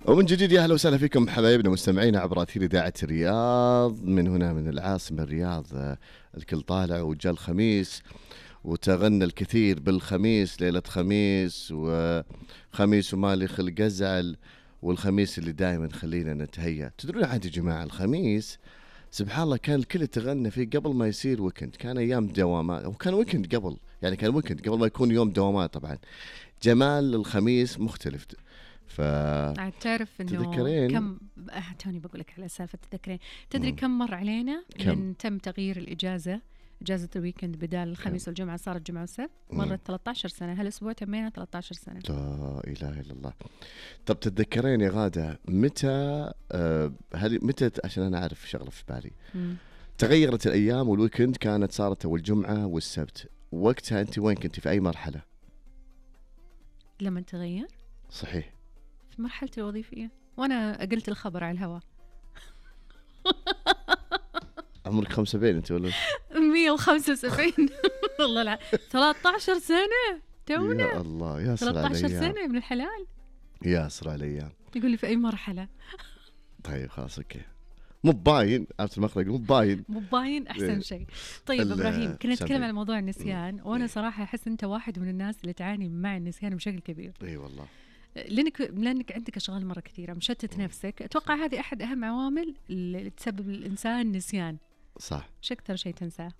ومن جديد يا أهلا وسهلا فيكم حبايبنا مستمعينا عبر أثير إذاعة الرياض من هنا من العاصمة الرياض. الكل طالع وجاء الخميس وتغنى الكثير بالخميس، ليلة خميس وخميس ومالي خلق أزعل، والخميس اللي دائما خلينا نتهيأ. تدرون عاد يا جماعة الخميس سبحان الله كان الكل يتغنى فيه قبل ما يصير ويكند، كان أيام دوامات وكان ويكند قبل، يعني كان ويكند قبل ما يكون يوم دوامات. طبعا جمال الخميس مختلف. تعرف انه كم توني بقول لك على سالفه تذكرين، تدري كم مر علينا من تم تغيير اجازه الويكند بدال الخميس والجمعه صارت جمعه وسبت؟ مرت 13 سنه، هالاسبوع تمينا 13 سنه. لا اله الا الله. طب تتذكرين يا غاده متى متى عشان انا اعرف شغله في بالي تغيرت الايام والويكند كانت صارت الجمعه والسبت، وقتها انت وين كنتي في اي مرحله لما تغير؟ صحيح في مرحلتي الوظيفيه وانا قلت الخبر على الهواء. عمرك 75 انت ولا 175؟ والله لا 13 سنه تونا. يا الله يا سر على 13 سنه من الحلال. يا سر على الايام. يقول لي في اي مرحله؟ طيب خلاص اوكي، مو باين عرفت المخرج، مو باين احسن شيء. طيب ابراهيم كنا نتكلم على موضوع النسيان، وانا صراحه احس انت واحد من الناس اللي تعاني مع النسيان بشكل كبير. اي والله، لانك عندك اشغال مره كثيره، مشتت نفسك. اتوقع هذه احد اهم عوامل اللي تسبب للانسان نسيان. صح. ايش اكثر شيء تنساه؟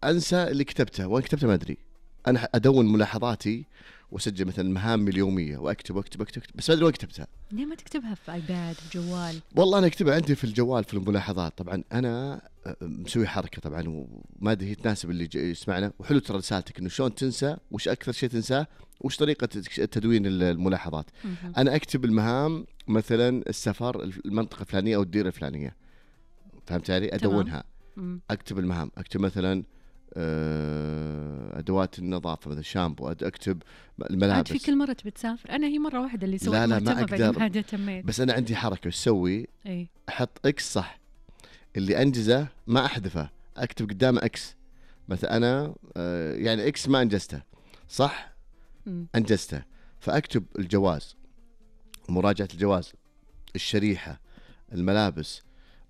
انسى اللي كتبته، وين كتبته ما ادري. انا ادون ملاحظاتي واسجل مثلا مهامي اليوميه واكتب بس ما ادري وين كتبتها. ليه ما تكتبها في ايباد في جوال؟ والله انا اكتبها عندي في الجوال في الملاحظات. طبعا انا مسوي حركه طبعا وما ادري هي تناسب اللي يسمعنا، وحلو ترى رسالتك انه شلون تنسى، وش اكثر شيء تنساه، وش طريقه تدوين الملاحظات. انا اكتب المهام مثلا السفر المنطقه الفلانيه او الديره الفلانيه، فهمت علي؟ ادونها. اكتب المهام، اكتب مثلا ادوات النظافه مثل شامبو، اكتب الملابس. في كل مره تبي تسافر؟ انا هي مره واحده اللي سويت. لا ما اقدر تميت. بس انا عندي حركه وش اسوي؟ احط اكس صح، اللي انجزه ما احذفه، اكتب قدامه اكس. مثلا انا يعني اكس ما انجزته صح، انجزته، فاكتب الجواز، مراجعه الجواز، الشريحه، الملابس،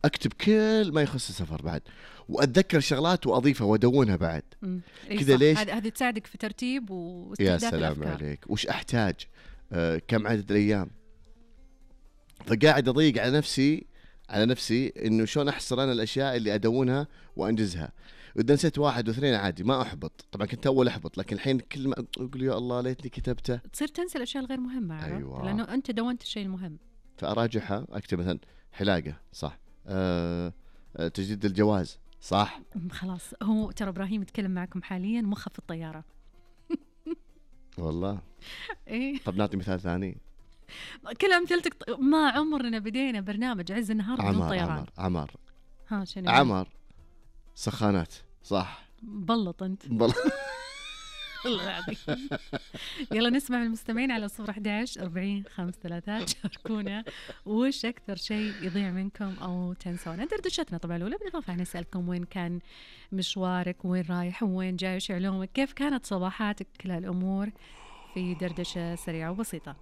اكتب كل ما يخص السفر بعد، واتذكر شغلات واضيفها وادونها بعد كذا. ليش؟ هذه تساعدك في ترتيب واستهداف يا سلام الأفكار. عليك. وش احتاج، كم عدد الايام. فقاعد اضيق على نفسي انه شلون احصر انا الاشياء اللي ادونها وانجزها. واذا نسيت واحد واثنين عادي ما احبط، طبعا كنت اول احبط، لكن الحين كل ما اقول يا الله ليتني كتبته. تصير تنسى الاشياء الغير مهمه. أيوة. لانه انت دونت الشيء المهم، فاراجعها. اكتب مثلا حلاقه صح، تجديد الجواز صح. خلاص هو ترى ابراهيم يتكلم معكم حاليا مخه في الطياره. والله ايه. طب نعطي مثال ثاني. كل امثلتك ما عمرنا بدينا برنامج عز النهار بدون طيران. عمر ها شنو؟ عمر سخانات صح. بلط انت. يلا نسمع من المستمعين على 011 40 53 شاركونا وش أكثر شيء يضيع منكم أو تنسونه. دردشتنا طبعا الأولى بالإضافة نسألكم وين كان مشوارك، وين رايح وين جاي، وش علومك، كيف كانت صباحاتك، كل هالأمور في دردشة سريعة وبسيطة.